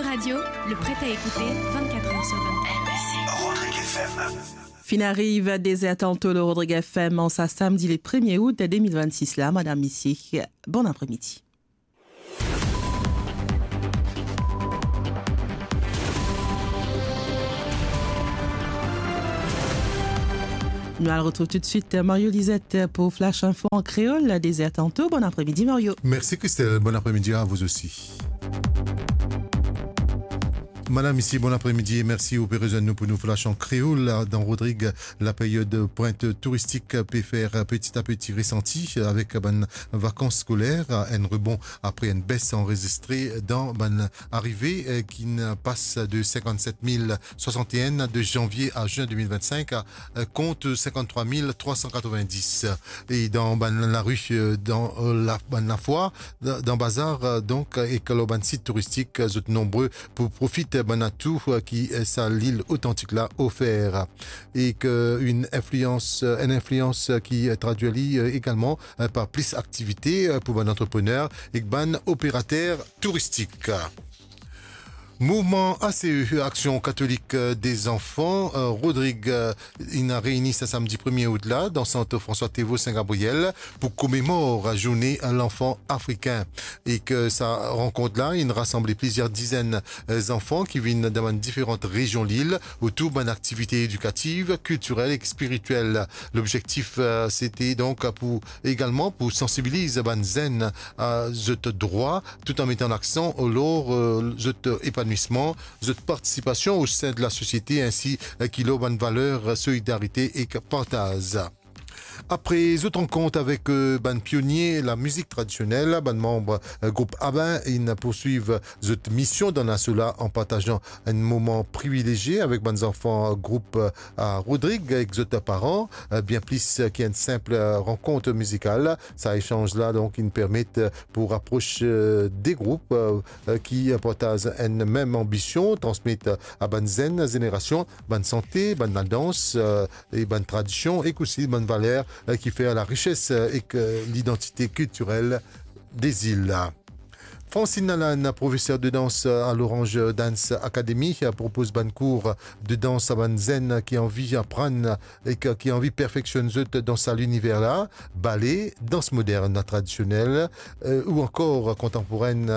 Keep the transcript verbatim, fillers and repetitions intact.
Radio, le prêt à écouter vingt-quatre heures sur vingt-quatre. Rodrigue F M. Finn ariv de zer tanto lor Rodrigue F M an sa samdi le premie out de de mil vennsis la, madam, misie, bon apremidi. Nou al retrouv toutswit Mario Lizette pou Flash Info an kreol, de zer tanto. Bon apremidi, Mario. Mersi, Christelle. Bon apremidi a vou osi. Madam, misie, bon apremidi e mersi ou pe rezwenn nou pou nou Flash an kreol. Dan Rodrig, laperiod pwint touristik pe fer peti a peti resanti avek bann vakans skoler, enn rebon apre enn bes anrezistre dan bann arive, eh, ki'nn pas de sinkannset mil swasannteen de zanvie a zin de mil vennsenk, eh, kont sinkanntrwa mil trwa san katrovendis. E dan bann lari, eh, dan, eh, la, bann lafwar, dan, dan bazar, eh, donk, eh, ek lor bann sit touristik, eh, zot nonbre pou profit, eh, bann atou, eh, ki, eh, sa lil otantik la ofer. Ek enn inflians, eh, enn inflians, eh, ki, eh, tradwir li, eh, egalman, eh, par plis aktivite, eh, pou bann antreprener ek bann operater touristik. Mouvman A C E, Action Catholique des Enfants, eh, Rodrig, eh, inn reini sa samdi premie out la dan sant François Théveaux Saint-Gabriel pou komemor zourne lanfan afrikin. Ek sa rankont la inn rasanble plizier dizenn, eh, zanfan ki vinn dan bann diferan rezion lil otour bann aktivite edikativ, kiltirel ek spiritiel. Lobzektif, eh, sete donk pou, egalman pou sansibiliz bann zenn a zot drwa, tout an metan laksan lor, eh, zot epanouisman, zot partisipasion o sin de lasosiete, insi, eh, ki lor bann valer solidarite ek partaz. Apre zot rankont avek, eh, bann pionie lamizik tradisionel, bann manm, eh, group ABBA inn pourswiv zot mision dan laso la an partazan enn moman privilezie avek bann zanfan group, eh, a Rodrig ek zot paran, eh, bien plis ki enn sinp, eh, rankont mizikal. Sa esanz la, donk, inn permet, eh, pou rapros, eh, de group, eh, eh, ki partaz enn mem anbision, transmet, eh, a bann zenn zenerasion bann sante, bann ladans, eh, e bann tradision, ek osi bann valer, eh, ki fer larises, eh, ek, eh, lidantite kiltirel de zil la. Francine Lalanne, profeser de dans, eh, a l'Orange Dance Academy, eh, propoz bann kour de dans a bann zenn ki anvi aprann ek ki anvi perfeksionn zot dan sa liniver la, bale, dans modern, tradisionel, eh, ou ankor kontanporenn,